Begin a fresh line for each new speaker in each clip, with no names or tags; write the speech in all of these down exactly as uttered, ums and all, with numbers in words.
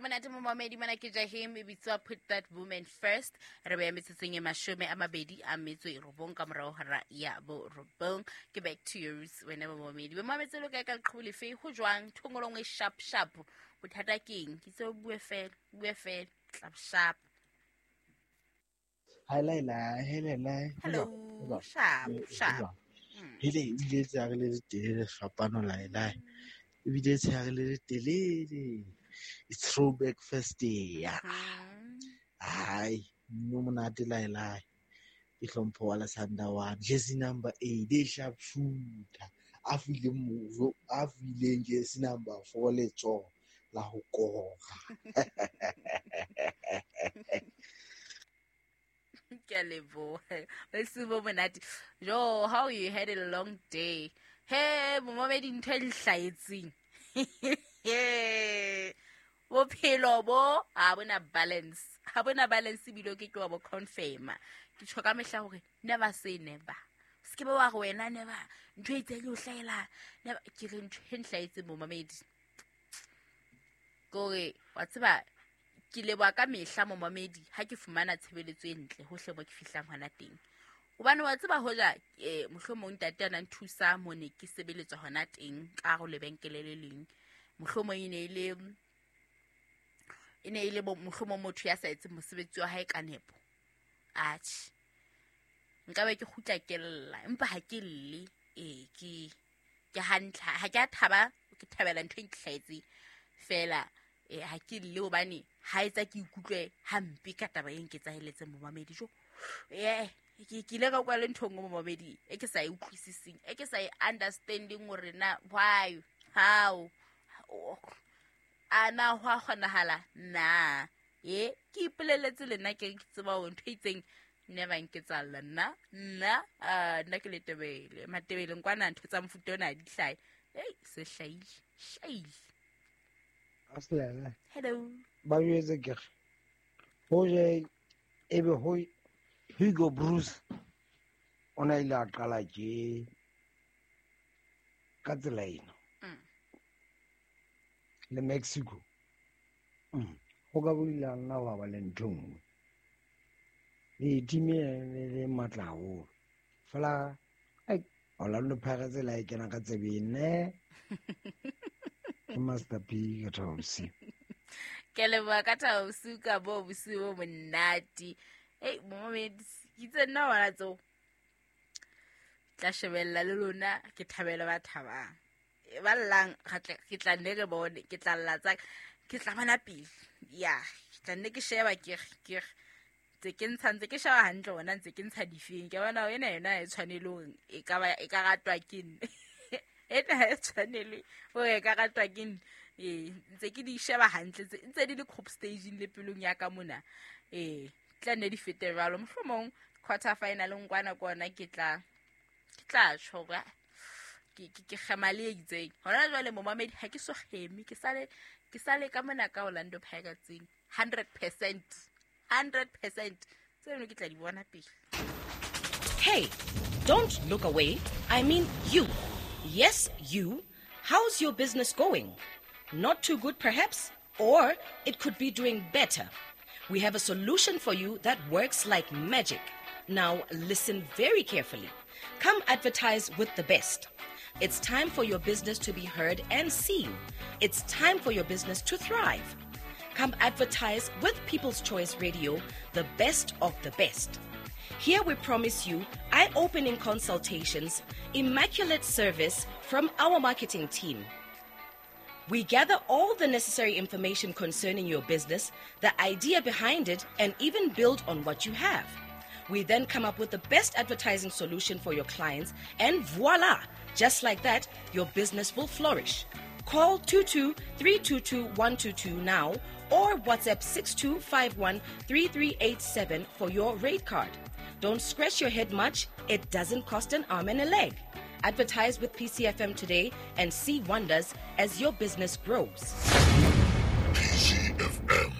Monate momamedi mona ke Jahim e bitswa Put That Woman First. Re beya metsotsong e mashome a mabedi a metso e robong ka morao hora ya borobong. Ke back to your roots wena momamedi. Bo mametse lo kae ka leqhubu lefe ho jwang thongolong e sharp sharp. Bothata keng? Ke tse o bue fela, bue fela, tlap sharp.
Hi Laila, hey Laila.
Hello, sharp sharp.
Hele ebile tsa re le letelele fapano Laila. Ebile tsa re le letelele. It's throwback first day. Hi, no monate Laila. Ke hlompho wa la Sandawana. Jersey number eight, e sharp shooter. A fileng mojo, a fileng jersey number four letsoho la ho kora.
Ke a leboha. Bosiu bo monate. Jo, how you had a long day. Hey, momamedi ntho e le hlahetseng. Bophelo bo ha bona balance. Ha bona balance ebile o ke ke wa bo confirma. Ke tjho ka mehla hore never say never. Se ke ba wa re wena never ntho e itseng e o hlahela. Never ke re ntho e nhlahetseng momamedi. Kore wa tseba ke leboha ka mehla momamedi ha ke fumana tshebeletso e ntle hohle mo ke fihlang hona teng. Hobane wa tseba hoja eh mohlomong ntate a na nthusa mo ne ke sebeletswa hona teng ka hare ho lebenkele le leng. Mohlomong e ne e le e ne e le mohlomong motho ya sa etseng mosebetsi wa hae ka nepo. Atjhe. Nka be ke kgutla ke lla, empa ha ke lle. Eh ke ke hantle, ha ke a thaba, ke thabela ntho e ntlhaetseng fela. Eh ha ke lle hobane ha etsa ke ikutlwe hampe ka taba e nketsaheletseng momamedi jo. Eh ke ke ile ka kwa le ntho nngwe momamedi e ke sa e utlwisiseng, e ke sa e understanding hore na why, how, a na ho a kgonahala na. E ke ipoleletse le nna ke tseba hore ntho e itseng never nketsahalla nna nna nna ke Letebele Matebele nkwana ntho tsa mofuta ona di hlahe. Ei se hlahile hlahile.
Aslele.
Hello.
Ba jwetse ke re hoje ebe ho Hugo Bruce o na ile a qala ke ka tsela ena le Mexico. Mm. Ho ka bolila nna wa ba le ntho nngwe. Le team e le matla haholo. Fela ai Orlando Pirates la e kena ka tsebeng ne. Ke Master P ka thabo bosiu.
Ke leboha ka thabo bosiu ka bo bosiu bo monate. Ei momamedi ke itse nna wona tseo. Tla shebella le lona ke thabela ba thabang. Ba llang ke tla nne re bone, ke tla lla tsa ke tla bona pele. Ya, ke tla nne ke sheba ke ke tse ke ntsha ntse ke sheba hantle hona ntse ke ntsha difeng. Ke bona ena yona e tshwanele hore e ka ba e ka ratwa ke nne. Ena e tshwanele hore e ka ratwa ke nne. Eh ntse ke di sheba hantle tse ntse di le group staging le pelong ya ka mona. Eh tla nne di fete jwalo mohlomong quarter final ngwana kona ke tla ke tla tjho hore ke ke kgema le itseng. Hona jwale momamedi ha ke so kgeme, ke sale ke sale ka mona ka Orlando Pirates hundred percent hundred percent tseno ke tla di bona pele.
Hey, don't look away. I mean you. Yes, you. How's your business going? Not too good perhaps, or it could be doing better. We have a solution for you that works like magic. Now listen very carefully. Come advertise with the best. It's time for your business to be heard and seen. It's time for your business to thrive. Come advertise with People's Choice Radio, the best of the best. Here we promise you eye-opening consultations, immaculate service from our marketing team. We gather all the necessary information concerning your business, the idea behind it, and even build on what you have. We then come up with the best advertising solution for your clients, and voila! Just like that, your business will flourish. Call two two three two two one two two now or WhatsApp six two five one three three eight seven for your rate card. Don't scratch your head much. It doesn't cost an arm and a leg. Advertise with P C F M today and see wonders as your business grows.
P C F M,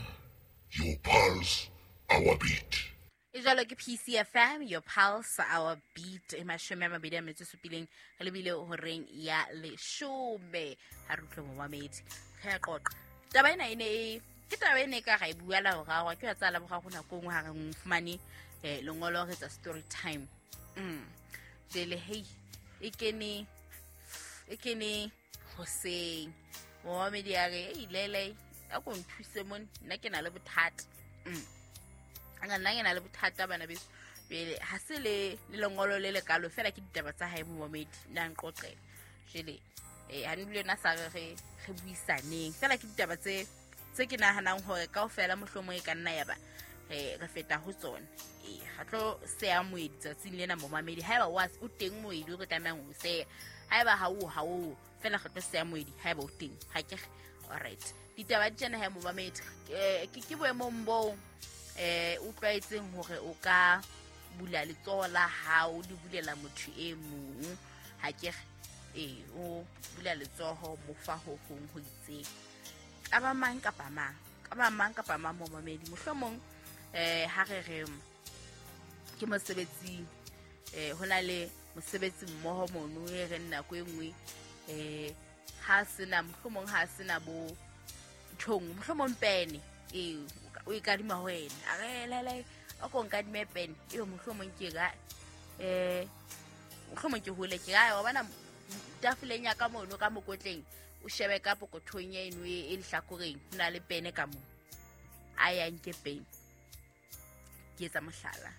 your pulse, our beat.
E jwalo ke P C F M, your pulse, our beat. E mashome a mabedi a metso e supileng re lebile horeng ya leshome. Ha re utlwe momamedi. Re a qoqa. Taba ena e ne e Ke taba e ne ka ra e bua la boraro, ke wa tsa la boraro nako nngwe ha re fumane eh lengolo re tsa story time. Mm. Jele hey e kene e kene hoseng. Momamedi a re ei lele a ko nthuse mone nna ke na le bothata. Mm. Nna nna ke na le bothata bana beso. Pele ha se le le lengolo le lekalo fela ke ditaba tsa hae momamedi nna nqoqela. Jele eh ha ndule na sa re re re buisaneng fela ke ditaba tse tse ke nahanang hore kaofela mohlomong e ka nna ya ba re re feta ho tsona. Eh ha tlo seya moedi tsatsing lena momamedi haeba wa o teng moedi o re tlamehang ho seya, haeba ha o ha o fela re tlo seya moedi haeba o teng ha ke. All right, ditaba di tjena ha momamedi ke ke boemong bo eh o tlwaetseng hore o ka bula letsoho la hao le bulela motho e mong ha ke eh o bula letsoho mo fa ho hong ho itseng ka ba mang kapa mang ka ba mang kapa mang momamedi mohlomong eh ha re re ke mosebetsing eh hona le mosebetsi mmoho mono e re nako e nngwe eh ha sena mohlomong ha sena bo nthong mohlomong pene eh o e kadima ho wena a re lele o ko nkadime pene eo mohlomong ke ga eh mohlomong ke hole ke ga wa bona tafoleng ya ka mono ka mokotleng o shebe ka pokothong ya eno e lehlakoreng ho na le pene ka mo a ya nke pene ke etsa mohlala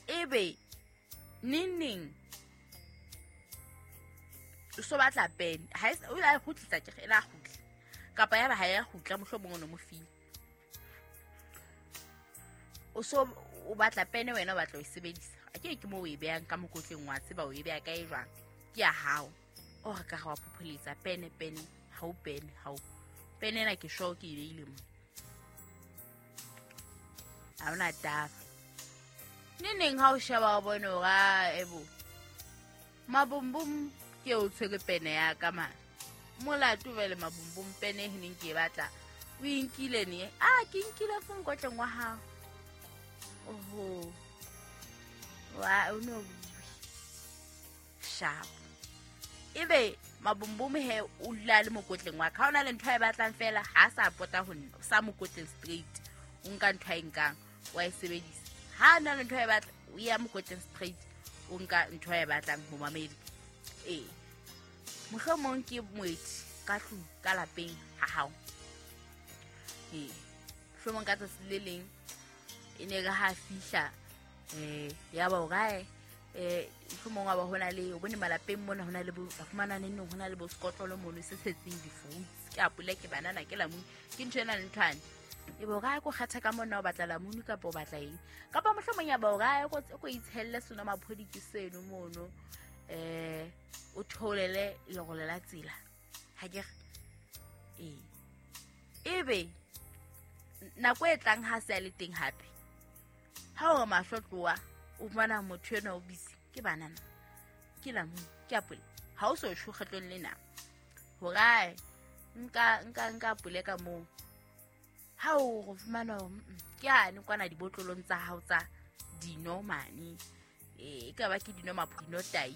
ebe neng o so batla pene ha o la kgutlisa ke la kgutla kapa ya ba ha ya kgutla mohlomong o no mo file o so o batla pene wena o batla o e sebedisa a ke ke mo o e behang ka mokotleng wa tseba o e beha kae jwang ke ya hao o re ka ga wa phopholetsa pene pene ha o pene ha o pene ena ke sure ke e beile mo ha ona taba neneng ha o sheba o bone hore a ebo mabumbum ke o tshwere pene ya ka mane molato vele mabumbum pene e neng ke e batla o e nkile ne a ke nkile fo mokotleng wa hao oho wa o no sharp ebe mabumbum he o dula le mokotleng wa ka ha ona le ntho e batlang fela ha sa pota ho nna sa mokotleng straight o nka ntho e nkang wa e sebedisa ha na le ntho e batla o ya mokotleng straight o nka ntho e batlang ho mamedi eh mohlomong ke moeti ka tlung ka lapeng ha hao eh mohlomong ka tsatsi le leng e ne re ha fihla eh ya ba o kae eh mohlomong wa ba hona le o bone malapeng mona hona le bo fumana neng hona le bo skotlolo mono se setseng di-fruits ke apole ke banana ke lamune ke ntho ena le nthwane e bo kae ko kgatha ka mona o batla lamune kapa o batla eng kapa mohlomong ya ba o kae ko ko itshelle sona maphodi ke seno mono eh o tholele lerole la tsela ha ke eh ebe nako e tlang ha se a le teng hape ha o mahlo tloa o fumana motho ena o busy ke banana ke lamune ke apole ha o so sho kgetlong lena hore nka nka nka apole ka moo ha o go fumana ke ane kwana dibotlolong tsa hao tsa dino mane eh e ka ba ke dino maphino tai